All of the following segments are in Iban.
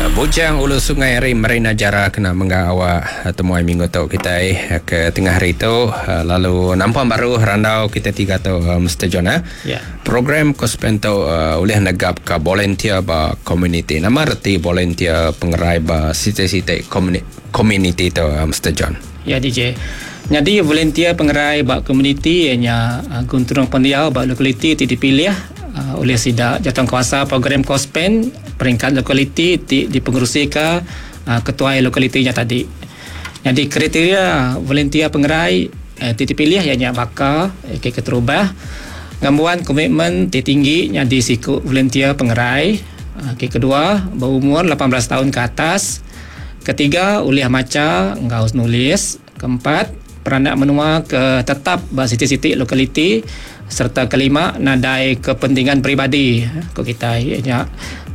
Bujang Ulu Sungai ari Marina Jara kena mengga awak temuai minggu tu kitai ke tengah hari tu lalu nampung baru randau kitai tiga tu Mister John eh. Ya. Program Kospen tu ulih negapka volunteer ba komuniti. Nama reti volunteer pengerai ba siti-siti komuniti tu Mister John? Ya DJ. Nyadi volunteer pengerai ba komuniti iya nya genturung pendiau ba lokaliti ti dipilih ulih sida jatankuasa program Kospen peringkat lokaliti ti dipengerusika ketuai lokaliti nya tadi. Nyadi kriteria volunteer pengerai ti dipilih iya nya baka ke keterubah ngembuan komitmen ti tinggi nyadi siku volunteer pengerai, ke kedua beumur 18 taun ke atas, Ketiga, ulih macha enggau nulis. Keempat, peranak menua ke tetap ba siti-siti lokaliti sereta kelima nadai kepentingan peribadi ku kitai iya nya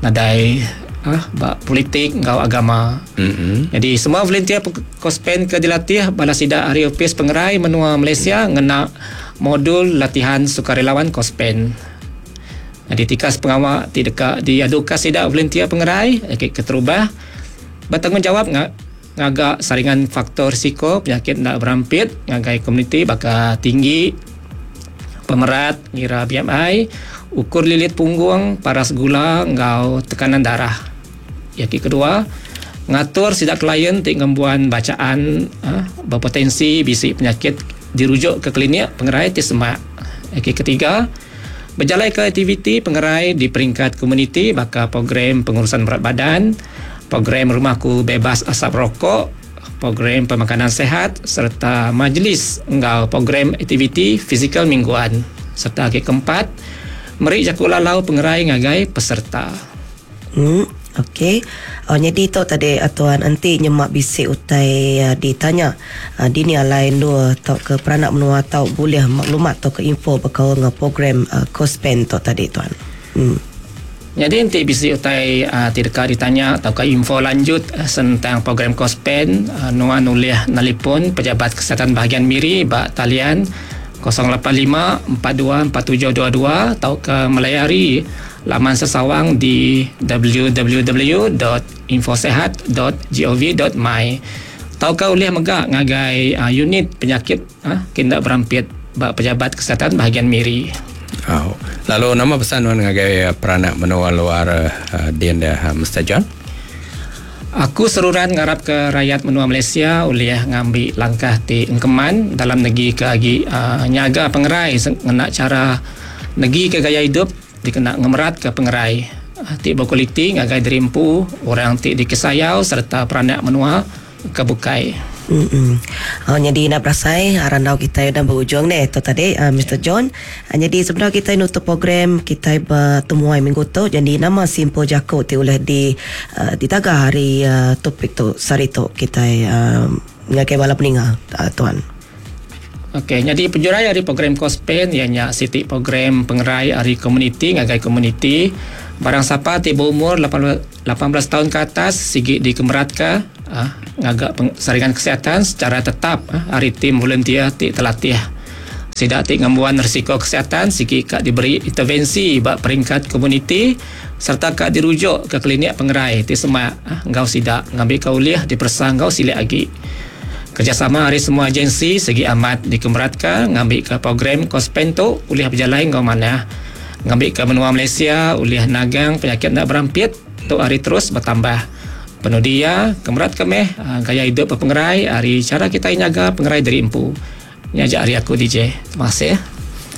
nadai uhh ba politik enggau agama. Nyadi semua volunteer Kospen ke dilatih bala sida ari Opis Pengerai Menua Malaysia ngena modul latihan sukarelawan Kospen. Nyadi tikas pengawa ti deka diaduka sida volunteer pengerai agi keterubah betanggungjawab ngaga saringan faktor risiko penyakit enda berampit ngagai komuniti baka tinggi, pemerat ngira BMI, ukur lilit punggung, paras gula enggau tekanan darah. Iya ti kedua, ngatur sida klien ti ngembuan bacaan bepotensi bisi penyakit dirujuk ke klinik pengerai ti semak. Iya ti ketiga, Bejalaika aktiviti pengerai di peringkat komuniti baka program pengurusan berat badan, program Rumahku Bebas Asap Rokok, program pemakanan sihat sereta majlis enggau program aktiviti fizikal mingguan sereta agi keempat, meri jaku lalau pengerai ngagai peserta. Em ok. Oh nyadi tu tadi tuan enti nyema bisi utai ditanya dini alai endur tauka peranak menua tau bulih maklumat tauka info bekaul enggau program Kospen tu tadi tuan. Em. Nyadi enti bisi utai ti deka ditanya tauka info lanjut sentang program Kospen nuan ulih nelipon Pejabat Kesihatan Bahagian Miri ba talian 085 42 47 22 tauka melayari Laman sesawang di www dot infosehat dot gov dot my tauka ulih mega ngagai unit penyakit ke enda berampit ba Pejabat Kesihatan Bahagian Miri. Au. Lalu nama pesan nuan ngagai peranak menua luar din deh Mister John? Aku seruran ngarapka rayat menua Malaysia ulih ngambi langkah ti engkeman dalam negika agi nyaga pengerai ngena chara negika gaya idup dikena ngemeratka pengerai ti bekualiti ngagai diri empu, orang ti dikesayau sereta peranak menua ke bukai. Oh nyadi enda berasai randau kitai udah berujung neh tu tadi Mister John. Nyadi sebedau kitai nutup program kitai betemuai minggu tu jadi nama simpul jaku ti ulih di ditaga ari topik tu sehari tu kitai ngagai bala peninga tuan. Okey, nyadi pejurai ari program Kospen iya nya siti program pengerai ari komuniti ngagai komuniti. Barang sapa ti beumur 18 taun ke atas sigi dikemeratka uhh ngaga saringan kesihatan secara tetap ari tim volunteer ti telatih. Sida ti ngembuan risiko kesihatan sigi ka diberi intervensi ba peringkat komuniti sereta ka dirujuk ke klinik pengerai ti semak enggau sida ngambika ulih diperesa enggau silik agi. Kerejasama ari semua agensi sigi amat dikemeratka ngambika program Kospen tu ulih bejalai enggau manah ngambika menua Malaysia ulih nagang penyakit enda berampit tu ari terus betambah. Penudi iya, kemeratka meh gaya idup bepengerai ari chara kitai nyaga pengerai diri empu. Nya aja ari aku DJ. Terima kasih.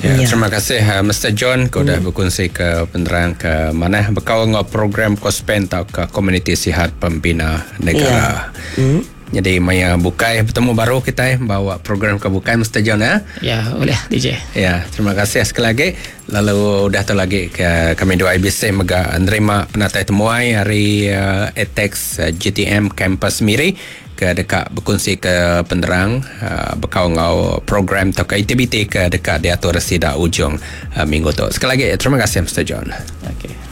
Ya, terima kasih Mister John ke udah bekunsi ke penerang ke manah bekaul enggau program Kospen tauka Komuniti Sihat Pembina Negara. Nyadi maya bukai betemu baru kitai bawa program ke bukai Mister John ya. Ya, ulih DJ. Ya, terima kasih sekali lagi. Lalu udah tu lagi ke kami dua IBC mega nerima penatai temuai ari uh, ATEX uh, GTM Campus Miri ke deka bekunsi ke penerang uh, bekau enggau program atau ke aktiviti ke deka diatur sida ujung uh, minggu tu. Sekali lagi terima kasih Mister John. Okey.